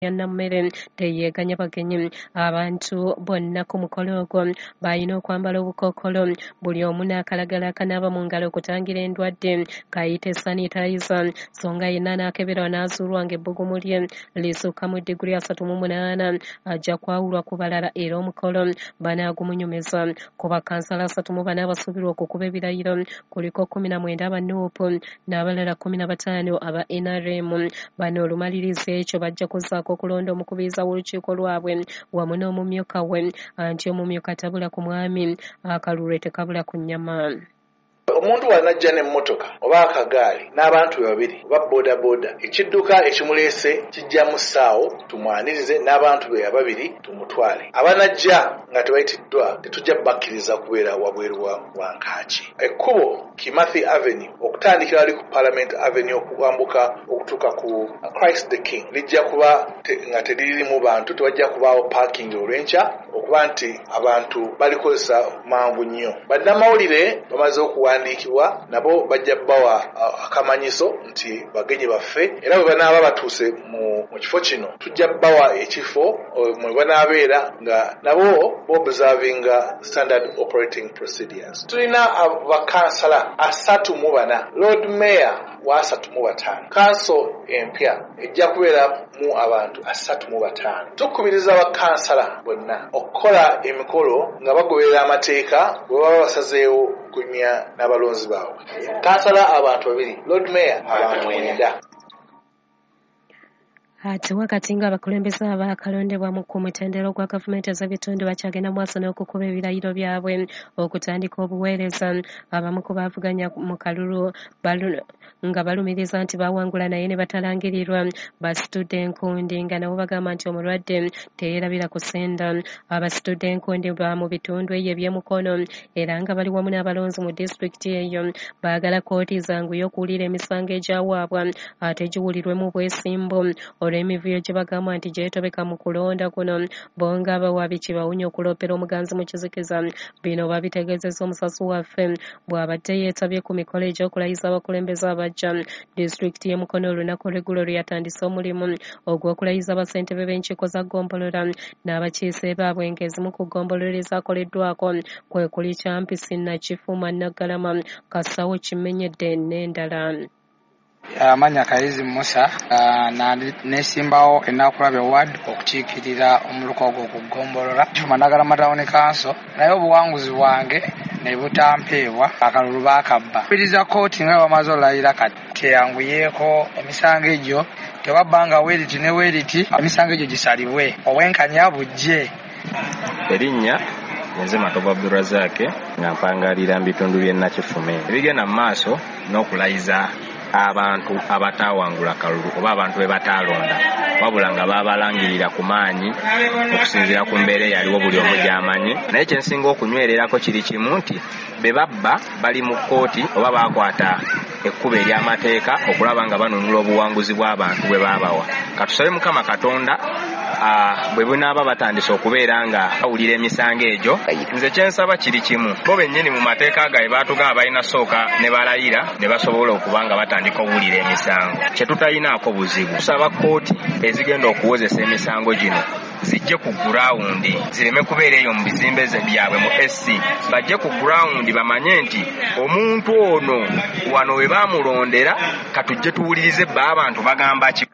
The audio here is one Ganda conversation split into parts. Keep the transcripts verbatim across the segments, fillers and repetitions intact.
Ya Nammere teyeeganya bagenyi. Abantu bonna ku mukolo ogwo balina okwambala obukookolo, buli omu n'akalagala akanaaba mu ngalo okutangira endwadde kayite sanitizer, so nga yenna anaakeberwa n'azuulwa ng'ebbugumu lye lisukka mu diguli asatu mu munaana ajja kwawulwa ku balala era omukolo banaagumunyumiza. Ku bakansala asatu mu bana abasuubirwa okukuba ebirayiro kuliko kkumi na mwenda aba Nuupu n'abalala kkumi na bataano aba N R M. Bano olumaliriza ekyo bajja kuzzaako okulonda omukubiriza w'olukiiko lwabwe wamu n'omumyuka we, anti omumyuka tabula ku mwami, akalulu tekabula ku nnyama. Omuntu bw'anajja n'emmotoka oba akagaali n'abantu be babiri oba boodabooda, ekidduka ekimuleese kijja mu ssaawo tumwanirize n'abantu be ababiri tumutwale. Abanajja nga tebayitiddwa tetujja bakkiriza kubeera wabweru wa Nkaaki. Ekkubo Kimathi Avenue okutandikira wali ku Parliament Avenue okuwambuka okutuuka ku Christ the King lijja kuba nga teririmu bantu, tewajja kubaawo parking olw'enkya okuba nti abantu balikozesa mangu nnyo. Bannamawulire bamaze okuwandiikibwa nabo bajja bawa akamanyiso nti bagenyi baffe, era bwe banaaba batuuse mu kifo kino tujja bawa ekifo mwe banaabeera nga nabo observinga standard operating procedures. Tulina abakansala asatu mu bana, Lord Mayor wa asatu mu bataano, kanso empya ejja kubeera mu abantu asatu mu bataano. Tukubiriza abakansala bonna okukola emikolo nga bagoberera amateeka bwe baba basazeewo okunyumya n'abalonzi baabwe. Kansala abantu babiri, Lord Mayor abantu mwenda. Ate wakati ng'abakulembeze abaakalondebwa ku mutendera gwa gavumenti ez'ebitundu bakyagenda mu maaso n'okukuba ebirayiro byabwe okutandika obuweereza, abamu ku baavuganya mu kalulu nga balumiriza nti baawangula naye ne batalangirirwa basitudde enkundi nga nabo bagamba nti omulwadde teyeerabira kusenda. Abasitudde enkundi ba mu bitundu eyo eby'emukono era nga bali wamu n'abalonzi mu disitulikiti eyo baagala kkooti zanguye okuwulira emisango egyawaabwa ate giwulirwe mu bwesimbu olw'emivuyo gye bagamba nti gyetobeka mu kulonda kuno. Bo nga abawaabi kibawunya okuloopera omuganzi mu kizikiza. Bino babitegeezezza omusasi waffe bw'abadde yeetabye ku mikolo egy'okulayiza abakulembeze abajja. Disitulikiti y'e Mukono olunaku olw'eggulo lwe yatandise omulimu ogw'okulayiza bassentebe b'enkiiko za ggombolola n'abakiise baabwe ng'ezimu ku ggombolola ezaakoleddwako kwe kuli Kyampisi, Nakifuma, Naggalama, Kasawo, Kimenyedde n'endala. Amanya Kayizi Musa, nesimbawo Ennakulabye Ward okukiikirira omuluka ogwo ku ggombolola Kifuma Naggalama Town Council, naye obuwanguzi bwange ne butampeebwa, akalulu baakabba. Mpuliriza kkooti nga bamaze olayira kati teyanguyeeko emisango egyo, tewabbanga weeriti ne weeriti, emisango egyo gisalibwe, obwenkanya bujje. Erinnya nze Matovu Abdulrazak nga mpangalira mu bitundu by'e Nakifuma. Ebigenda mu maaso n'okulayiza abantu abataawangula kalulu oba abantu be bataalonda, wabula nga baabalangirira ku maanyi okusinziira ku mbeera eyaliwo buli omu gy'amanyi. Naye kye nsinga okunywererako kiri kimu nti be babba bali mu kkooti oba baakwata ekkubo ery'amateeka okulaba nga banunula obuwanguzi bw'abantu bwe baabawa. Katusabe Mukama Katonda bwe bunaaba batandise okubeera nga bawulira emisango egyo. Nze kye nsaba kiri kimu, bo bennyini mu mateeka gaabwe baatugamba balina sooka ne balayira ne basobola okuba nga batandika okuwulira emisango. Kye tutayinaako buzibu, tusaba kkooti ezigenda okuwozesa emisango gino zijje ku gurawundi, zireme kubeera eyo mu bizimbe byabwe mu S C, bajje ku gurawundi bamanye nti omuntu ono wano we baamulondera, katujje tuwulirize bba abantu bagamba ki.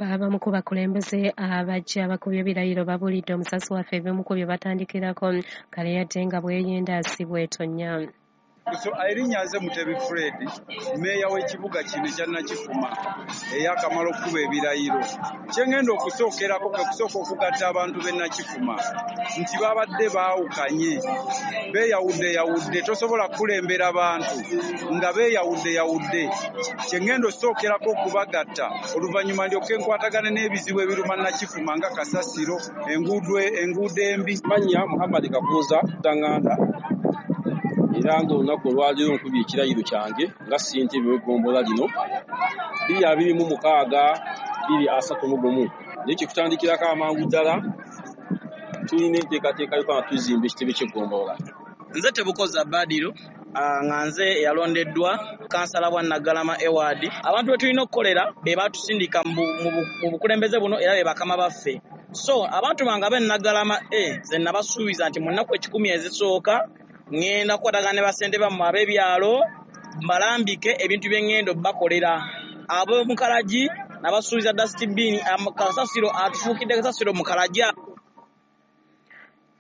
Abamu ku bakulembeze abajja abakubye ebirayiro babuulidde omusasi waffe ebimu ku bye batandikirako kale yadde nga bweyenda si bwetonya. So erinnya nze Mutebi Fred, mmeeya w'ekibuga kino ekya Nakifuma eyakamala okukuba ebirayiro. Kye ngenda okusookerako kwe kusooka okugatta abantu b'e Nakifuma nti babadde baawukanye, beeyawuddeyawudde, tosobola kukulembera bantu nga beeyawuddeyawudde. Kye ngenda osookerako okubagatta oluvannyuma ndyoke nkwatagane n'ebizibu ebiruma Nakifuma nga kasasiro, enguudo enguudo embi. Mannya Muhammad Kakuuza Tanganda, era ng'olunaku olwaleero nkubye ekirayiro kyange nga ssentebe w'eggombolola lino bbiri abiri mu mukaaga bbiri asatu mu gumu. Naye kye tutandikirako amangu ddala tulina enteekateeka y'okuba nga tuzimba ekitebe ky'eggombolola. Nze Tebukoza Badiro, Nga nze eyalondeddwa kansala bwa Naggalama Eward. Abantu be tulina okukolera be batusindika mu bukulembeze buno era be bakama baffe. So abantu bange ab'e Naggalama A nze nabasuubiza nti mu nnaku ekikumi ezisooka ŋŋenda kukwatagana ne bassentebe bammwe ab'ebyalo mbalambike ebintu bye ŋŋenda obbakolera. Ab'omu Kalagi nabasuubiza dustbin, kasasiro atufuukidde kasasiro mu Kalagi.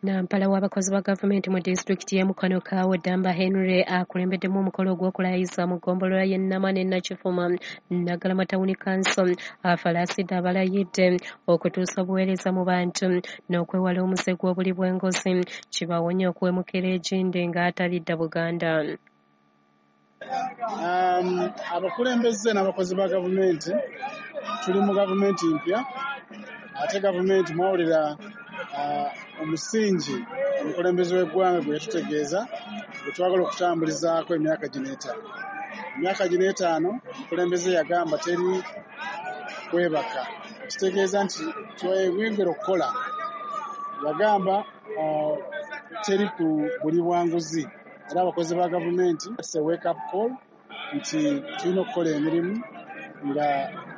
Nampala w'abakozi ba gavumenti mu disitulikiti y'e Mukono Kaawo Ddamba Henry akulembeddemu omukolo ogw'okulayiza mu ggombolola y'e Nama ne Nakifuma Naggalama Town Council afalaasidde abalayidde okutuusa obuweereza mu bantu n'okwewala omuze gw'obuli bw'enguzi kibawonye okuwemukira egindi ng'atalidda Buganda. Um, abakulembeze n'abakozi ba gavumenti tuli mu gavumenti mpya, ate gavumenti mwawulira uh, omusingi omukulembeze w'eggwanga gwe yatutegeeza gwe twagala okutambulizaako emyaka gino etaano. Emyaka gino etaano omukulembeze yagamba teri kwebaka, kitegeeza nti tweyongera okukola. Yagamba uh, teri ku buli bwanguzi, era abakozi ba gavumenti it's a wake up call nti tulina okukola emirimu nga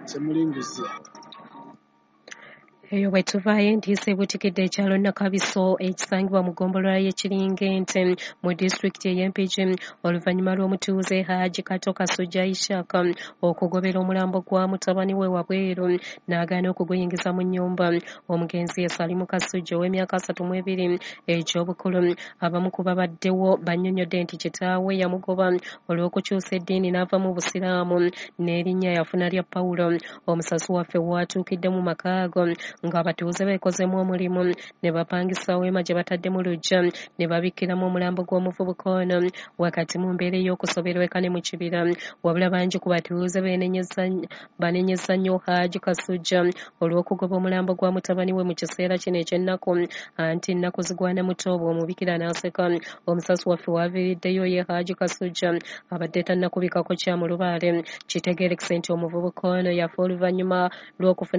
temuli nguzi. Eyo bwe tuvaayo entiisa ebuutikidde ekyalo Nakabiso ekisangibwa mu ggombolola y'e Kiringente mu disitulikiti ey'e Mpigi oluvannyuma lw'omutuuze Haji Kato Kasujja Ishaka okugobera omulambo gwa mutabani we wabweru n'agaana okuguyingiza mu nnyumba. Omugenzi ye Salimu Kasujja ow'emyaka asatu mu ebiri egy'obukulu. Abamu ku babaddewo bannyonnyodde nti kitaawe yamugoba olw'okukyusa eddiini n'ava mu Busiraamu n'erinnya yafuna lya Pawulo. Omusasi waffe waatuukidde mu maka ago ng'abatuuze beekozeemu omulimu ne bapangisa weema gye batadde mu luggya ne babikkiramu omulambo gw'omuvubuka ono wakati mu mbeera ey'okusoberwa eka ne mu kibira. Wabula bangi ku batuuze banenyezza nnyo Haji Kasujja olw'okugoba omulambo gwa mutabani we mu kiseera kino eky'ennaku anti nnaku zigwana muto bw'omubikira n'aseka. Omusasi waffe waaviiriddeyo ye Haji Kasujja abadde tannakubikako kya mulubaale. Kitegeerekese nti omuvubuka ono yafa oluvannyuma lw'okufuna